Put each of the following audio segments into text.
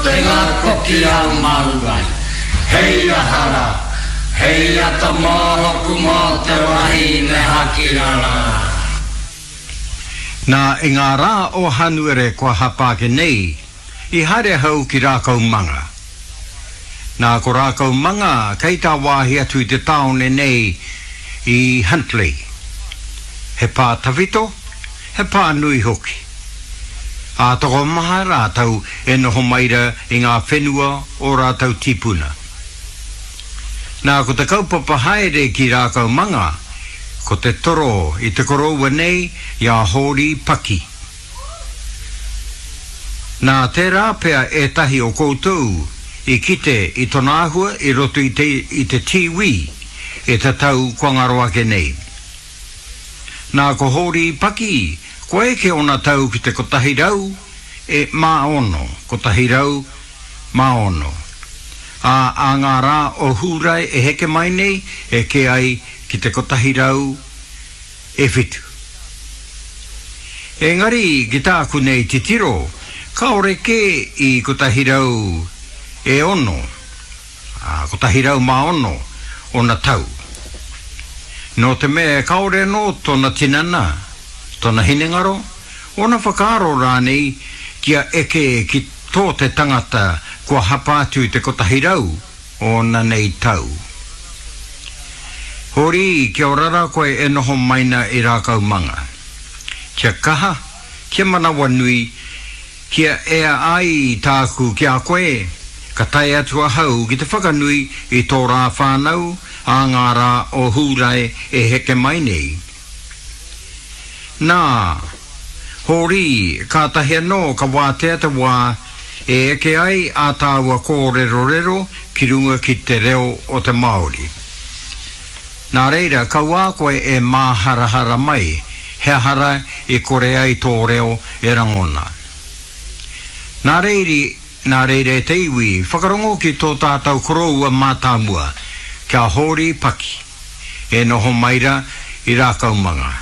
Te ngā koki a māua. Hei aha rā, hei ata mōku mō te wahine hakirara. Nā, i ngā rā o Hanuere kua hapa ake nei, i haere ahau ki Rākaumanga. Nā, ko Rākaumanga kei tāwāhi atu i te tāone nei i Huntly. He pā tawhito, he pā nui hoki. Ā, tokomaha rātou e noho mai ra i ngā whenua o rātou tīpuna. Nā, ko te kaupapa haere ki Rākaumanga, ko te toro i te koroua nei i a Hōri Paki. Nā, tērā pea ētahi o koutou i kite i tona āhua i roto i te i te tīwī i te tau kua ngaro ake nei. Nā, ko Hōri Paki, kua eke ōna tau ki te 100 e mā ono, 106. Ā, ā ngā rā o Hūrae e heke mai nei, eke ai ki te 107. Engari, ki tāku nei titiro, kāore kē i 106. Ā, 106 ōna tau. Nō te mea kāore anō tōna tinana, tōna hinengaro, ōna whakaaro rānei kia eke ki tō te tangata kua hapa atu i te 100 ōna nei tau. Hori, kia ora rā koe e noho mai na i Rākaumanga. Kia kaha, kia manawanui, Kia ea ai tāku ki a koe, ka tae atu ahau ki te whakanui i tō rā whānau ā ngā rā o Hūrae e heke mai nei. Nā, Hōri, kātahi anō ka wātea te wā e eke ai ā tāua kōrerorero ki runga ki te reo o te Māori. Nā reira, kauā koe e māharahara mai, he aha ra i kore ai tō reo e rangona. Nā reiri, nā reira e te iwi, whakarongo ki tō tātau koroua mātāmua, kia Hōri Paki, e noho mai ra i Rākaumanga.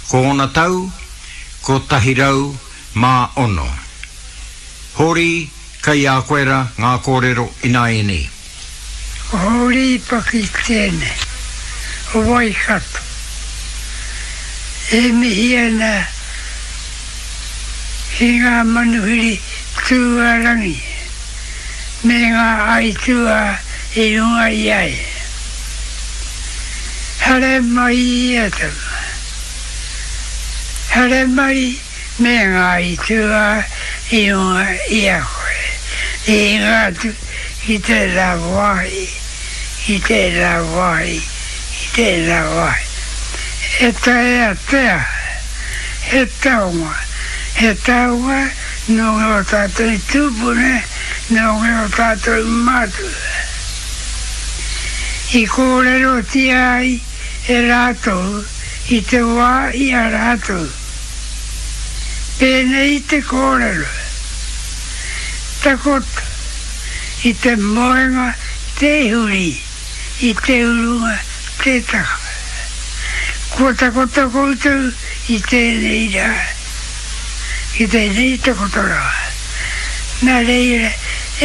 Ko ōna tau, 106. Hōri, Kei a koe ra ngā kōrero ināianei. Ko Hōri Paki tēnei, o Waikato. E mihi ana ki ngā manuhiri tūārangi me ngā aituā i runga i a ia. Haere mai e tama. Haere mai. Me ngā aituā i runga i a koe, i hinga atu ki tērā wāhi, ki tērā wāhi, ki tērā wāhi. E taea te aha, he taonga, he taonga nō ngō tātou tūpuna, nō ngō tātou mātua. I kōrerotia ai e rātou i te wā i a rātou. Pēnei te kōrero, Takoto i te moenga te huri, i te urunga te taka. Kua takoto koutou i tēnei rā, ki tēnei takotoranga. Nā reira,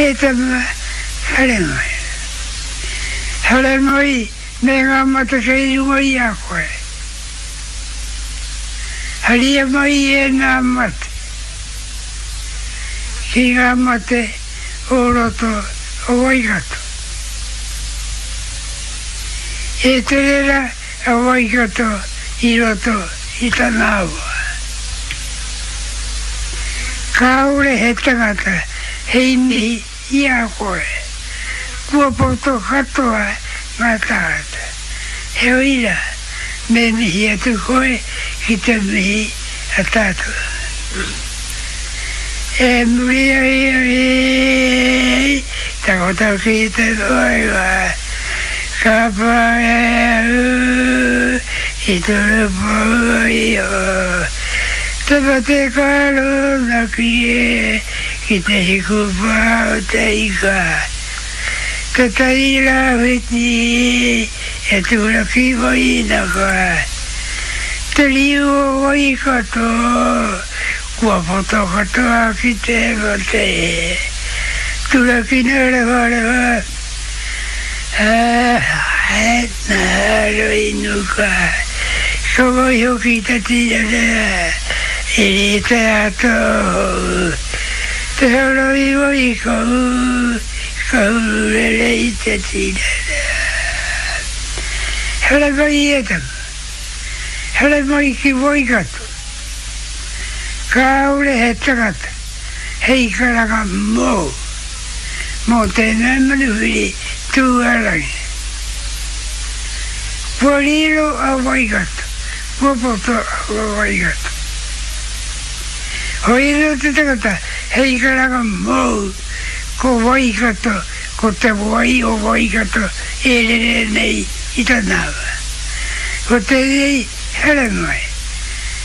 e tama, haere mai. Haere mai me ngā mata kei runga i a koe. Haria mai ēnā mate ki ngā mate o roto o Waikato. E tere ra a Waikato i roto i tana awa. Kāore he tangata hei mihi i a koe. Kua poto katoa ngā tāngata. Heoi rā, me mihi atu koe ki te mihi a tātou. E muri ai ai takoto ki te moenga, ka pā e au i toro iho. Te mate ka rōnaki e ki te hiku pā o te ika. Te tai rāwhiti e turaki mai ana koe. Te riu o Waikato kua poto katoa ki te mate. Turakina rewharewa, ā, nā roi nuka, ka waiho ki te tīrere, i rite atu te horoi wai ka ū, ka hururere i te tīrere. Haere mai e tama, haere mai ki Waikato, kāore he tangata hei karanga mōu, mō tēnā manuwhiri tūārangi. Kua riro a Waikato, kua poto a Waikato. Hoi anō te tangata hei karanga mōu, ko Waikato, ko te wai o Waikato e rere nei i tana awa. Ko tēnei haramai,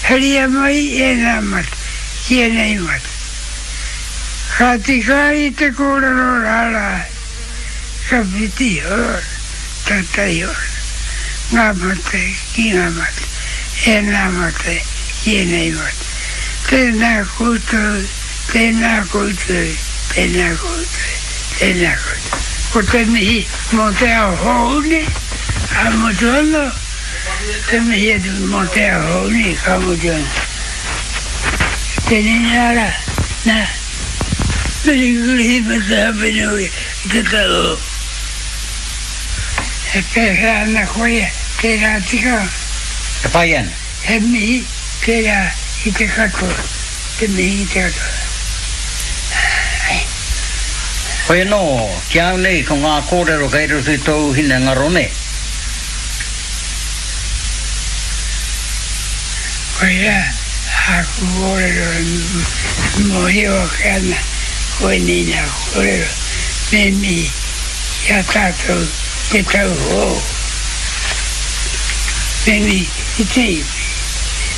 haria mai ēnā mate ki ēnei mate. Ka tika ai te kōrero rārā, ka whiti hor, tatai hor, ngā mate ki ngā mate, ēnā mate ki ēnei mate. Tēnā koutou, tēnā koutou, tēnā koutou, tēnā koutou. Ko te mihi mō te ao hou nei, ka mutu anō, te mihi atu mō te ao hou nei, ka mutu anō. Tēnei nā rā, nā, Merry Christmas and Happy New Year ki te tau hou. E pēwhea ana koia tērā tikanga? E pai ana. He mihi tērā ki te katoa, te mihi ki te katoa. Ai. Hoi anō, ki a au nei, ko ngā kōrero kei roto i tōu hinengaro nē. Koirā āku kōrero e mōhio ake ana koinei nā kōrero me mihi ki a tātou te tau hou. Me mihi ki te iwi.